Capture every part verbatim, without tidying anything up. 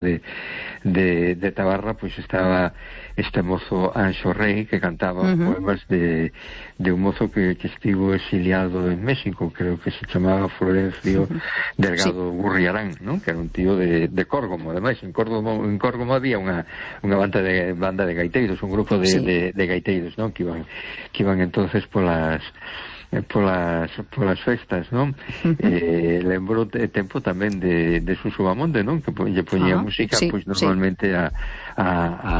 de, de, de Tabarra, pois estaba este mozo Anxo Rey, que cantaba uh-huh. poemas de, de un mozo que, que estivo exiliado en México, creo que se chamaba Florencio uh-huh. Delgado sí. Gurriarán, ¿no? Que era un tío de, de Córgomo. Ademais, en Córgomo, en Córgomo había unha, unha banda de banda de gaiteiros, un grupo de, sí. de, de gaiteiros, ¿no? Que iban, que iban entonces polas polas, polas festas, non? Uh-huh. Eh, lembro de tempo tamén de, de Suso Bamonde, non? Que lle poñía uh-huh. música, sí, pois normalmente sí. a, a, a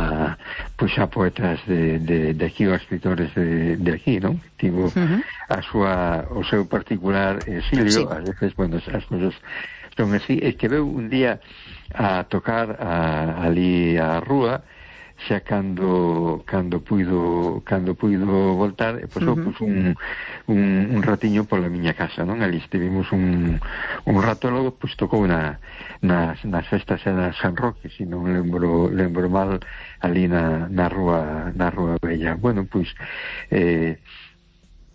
pois a poetas de, de, de aquí, ou a escritores de, de aquí, non? Tivo uh-huh. a súa, o seu particular exilio, sí. a veces, bueno, as cousas son así, e que veu un día a tocar a, ali a rúa, xa cando cando puido cando puido voltar, e pasou uh-huh. pues, un, un, un ratiño pola miña casa, non? Ali estivemos un, un rato, logo pues, tocou na, nas, nas festas de San Roque, se non lembro, lembro mal, ali na, na rúa na rúa Bella. Bueno, pois pues, eh,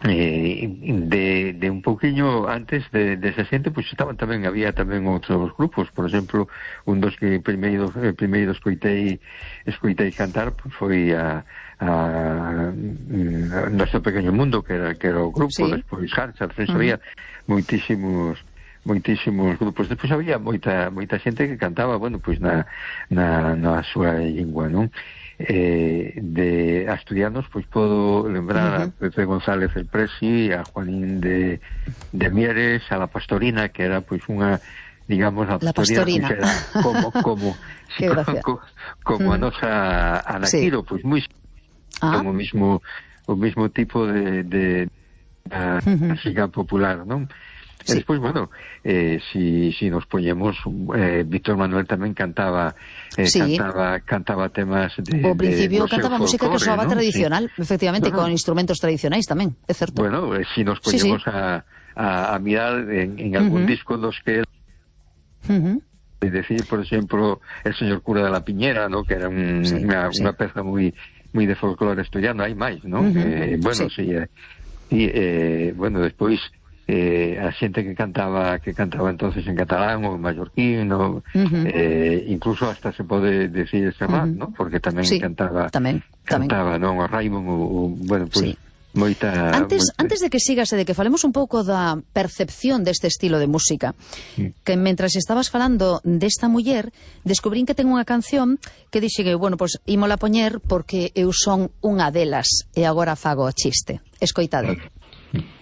eh, de, de un pouquiño antes de, de esa xente, pois pues, estaban tamén, había tamén outros grupos, por exemplo, un dos que primeiro, eh, primeiro escoitei escoitei cantar, pues, foi a, a, a Noso Pequeño Mundo, que era, que era o grupo, sí. Despois Hansard, uh-huh. había moitísimos moitísimos grupos, despois había moita moita xente que cantaba, bueno, pois pues, na, na, na súa lingua, non? Eh, de asturianos, pois podo lembrar uh-huh. a Pepe González el Presi, a Juanín de, de Mieres, a La Pastorina, que era pois unha, digamos, a Pastorina, pois, era como como, si, como, como uh-huh. a nosa Anaquiro, sí. pois moi ah. como o mismo o mismo tipo de, de, de uh-huh. música popular, non? Sí. E despois, bueno, eh, si, si nos poñemos, eh, Víctor Manuel tamén cantaba, eh, sí. cantaba cantaba temas de... O principio de, cantaba música folclore, que soaba, ¿no? Tradicional, sí. efectivamente, no, no. con instrumentos tradicionais tamén, é certo. Bueno, eh, si nos poñemos sí, sí. A, a, a mirar en, en algún uh-huh. disco dos que... Uh-huh. Es decir, por exemplo, El señor cura de la Piñera, ¿no? Que era un, sí, unha, sí. unha peza moi moi de folclore asturiano, hai máis, ¿no? Uh-huh. Eh, bueno, sí, sí eh, y, eh, bueno, despois... Eh, a xente que cantaba que cantaba entonces en catalán ou en mallorquín, no, uh-huh. eh, incluso hasta se pode decir Serrat, uh-huh. ¿no? Porque tamén sí, cantaba tamén, cantaba, tamén. Non, o Raimon, o, o, bueno, pois pues, sí. moita... Antes, moita... antes de que sigas e de que falemos un pouco da percepción deste estilo de música, sí. que mentras estabas falando desta muller, descubrín que ten unha canción que dixe que, bueno, pois pues, ímola poñer porque eu son unha delas e agora fago o chiste. Escoitade. Sí.